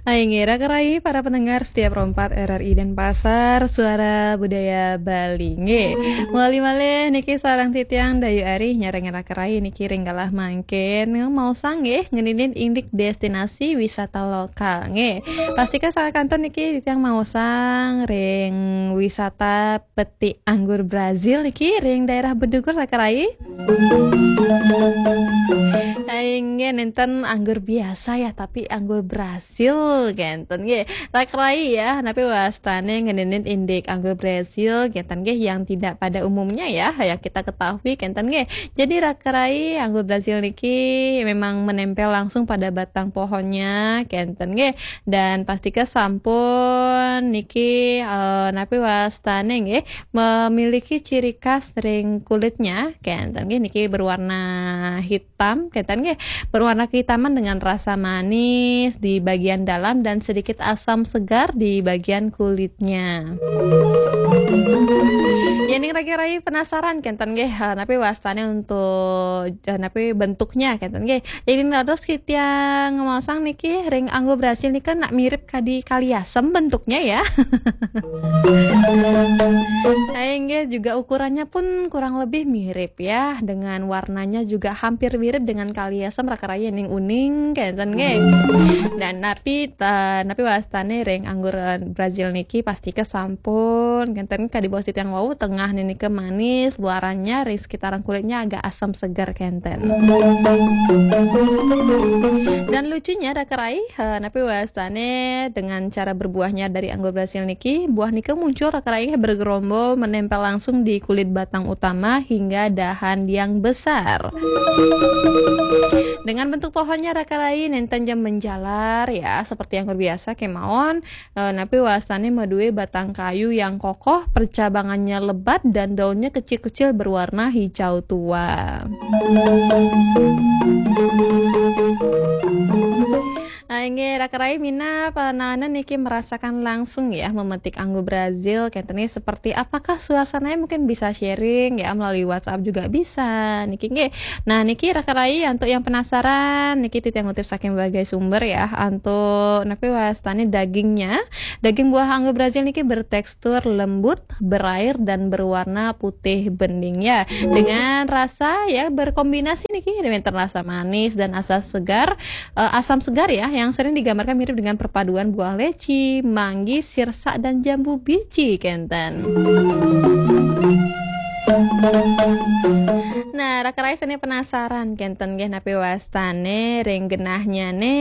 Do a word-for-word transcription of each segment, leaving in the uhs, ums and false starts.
Hai nggih, raka rai para pendengar setia Pro empat R R I Denpasar, Suara Budaya Bali. Nggih, mawali malih niki sareng titiang Dayu Ari nyarengin raka rai niki ring galah mangkin. Maosang nggih, ngeninin indik destinasi wisata lokal. Nggih, pastika saha kantun niki titiang maosang ring wisata peti anggur Brazil niki ring daerah Bedugul, raka rai. Inggih, nenten anggur biasa ya, tapi anggur Brazil kenten nggih. Raka rai ya, napi wastane ngeninin indik anggur Brazil kenten nggih, yang tidak pada umumnya ya, yang kita ketahui kenten nggih. Jadi raka rai, anggur Brazil niki memang menempel langsung pada batang pohonnya kenten nggih. Dan pastika sampun niki, eh, napi wastane nggih, memiliki ciri khas ring kulitnya kenten nggih, niki berwarna hitam kenten nggih, berwarna kehitaman dengan rasa manis di bagian dalam dan sedikit asam segar di bagian kulitnya. Yening raka rai penasaran kenten nggih, eh, napi wastane untuk, eh, napi bentuknya kenten nggih. Yening dados titiang maosang niki ring anggur Brazil nika nak mirip kadi kali asem bentuknya ya. Nah, inggih juga ukurannya pun kurang lebih mirip ya, dengan warnanya juga hampir mirip dengan kali asem, raka rai ning uning kenten nggih. Dan napi ta-, napi wastane ring anggur, eh, Brazil niki pastika sampun kenten kadi basa titiang wau, tengah nika manis, luarannya ring sekitaran kulitnya agak asam segar kenten. Dan lucunya raka rai, eh, napi wastane dengan cara berbuahnya dari anggur Brazil niki, buah nika muncul raka rai bergerombol menempel langsung di kulit batang utama hingga dahan yang besar. Dengan bentuk pohonnya raka rai nenten ja menjalar ya, seperti anggur biasa kemawon, eh, napi wastane madue batang kayu yang kokoh, percabangannya lebat dan daunnya kecil-kecil berwarna hijau tua. Nah, inggih raka rai minab, eh, niki merasakan langsung ya memetik anggur Brazil kenten nggih, seperti apakah suasananya, mungkin bisa sharing ya melalui WhatsApp juga bisa niki nggih. Nah, niki raka rai untuk yang penasaran niki titiang ngutip saking berbagai sumber ya, untuk napi wastane dagingnya, daging buah anggur Brazil niki bertekstur lembut, berair dan berwarna putih bening ya. Dengan rasa ya berkombinasi niki, wenten rasa manis dan asam segar, eh, asam segar ya, yang sering digambarkan mirip dengan perpaduan buah leci, manggis, sirsak dan jambu biji kenten. Nah, raka rai sane penasaran kenten nggih napi wastane ring genahnyane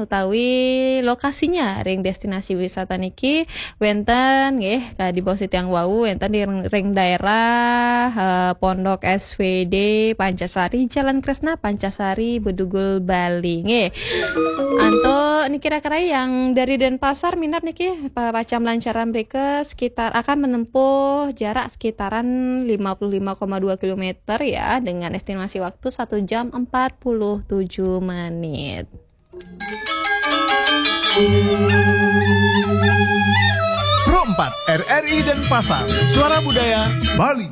utawi lokasinya ring destinasi wisata niki, wenten nggih kadi basa titiang wau, wenten di ring, ring daerah, eh, Pondok S W D Pancasari, Jalan Kresna Pancasari, Bedugul, Bali nggih. Antuk niki raka rai yang dari Denpasar minab niki pa-, pacang lancaran mrika sekitar akan menempuh jarak sekitaran lima puluh lima koma dua kilometer ya, dengan estimasi waktu satu jam empat puluh tujuh menit. Pro empat R R I Denpasar, Suara Budaya Bali.